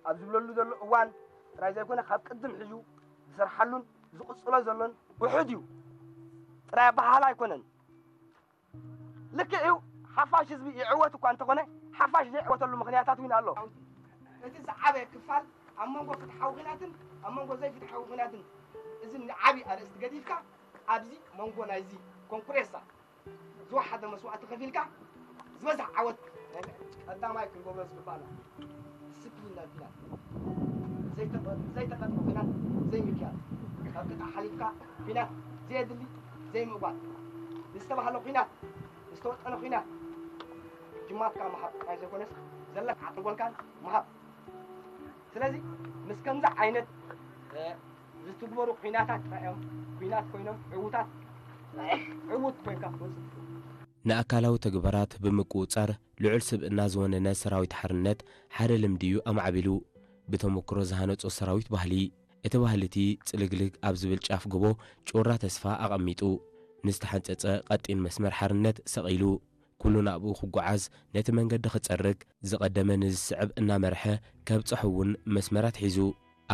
ኣብ ዝብለሉ ዘሎ እዋን ጥራይ ዘይኮነ ካብ ቅድም ሕዙ ዝሰርሓሉን ዝቕጽሎ ዘሎን ውሑድ እዩ። ጥራይ ኣበሃህላ ኣይኮነን። ልክዕ እዩ። ሓፋሽ ህዝቢ ይዕወት እኳ እንተኾነ ሓፋሽ ዘይዕወተሉ ምኽንያታት እውን ኣሎ። እቲ ዝዓበየ ክፋል ኣብ መንጎ ፍትሓዊ ኲናትን ኣብ መንጎ ዘይፍትሓዊ ኲናትን እዚ ንዓቢ ኣርእስቲ ገዲፍካ ኣብዚ መንጎ ናይዚ ኮንኩሬሳ ዝወሓደ መስዋእቲ ከፊልካ ዝበዝሕ ዓወት ናይ ቀዳማይ ክንገብሮ ዝግባእና ዲስፕሊን ናይ ኲናት ዘይተቐ- ዘይተቐጥረ ኲናት ዘይምክያድ ካብ ቅጥዒ ሓሊፍካ ኲናት ዘየድሊ ዘይምእጓል ዝተባህለ ኲናት ዝተወጠነ ኲናት ጅማትካ ምሃብ ጥራይ ዘይኮነስ ዘለካ ዓተጎልካን ምሃብ። ስለዚ ምስ ከምዚ ዓይነት ዝትግበሩ ኲናታት ጥራይ እዮም ኲናት ኮይኖም ዕዉታት ዕዉት ኮይንካ ክትወፅእ ትኽእል። ንኣካላዊ ተግባራት ብምቁፅፃር ልዑል ስብእና ዝወነነ ሰራዊት ሓርነት ሓደ ልምዲ እዩ ኣማዕቢሉ። ብተመክሮ ዝሃነፆ ሰራዊት ባህሊ እቲ ባህሊ እቲ ፅልግልግ ኣብ ዝብል ጫፍ ጎቦ ጩራ ተስፋ ኣቐሚጡ ንዝተሓንፀፀ ቀጢን መስመር ሓርነት ሰቒሉ ኩሉ ናብኡ ክጓዓዝ ነቲ መንገዲ ክፀርግ ዝቐደመ ንዝስዕብ እናመርሐ ከብፅሖ እውን መስመራት ሒዙ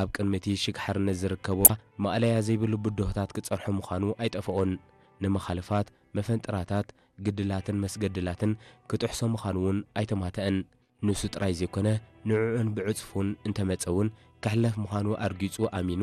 ኣብ ቅድሚ እቲ ሽግ ሓርነት ዝርከቦ ማእለያ ዘይብሉ ብድሆታት ክፀርሖ ምዃኑ ኣይጠፍኦን። ንመኻልፋት፣ መፈንጥራታት፣ ግድላትን መስገድላትን ክጥሕሶ ምዃኑ እውን ኣይተማተአን። ንሱ ጥራይ ዘይኮነ ንዕኡን ብዕፅፉን እንተመፀ እውን ክሕለፍ ምዃኑ ኣርጊፁ ኣሚኑ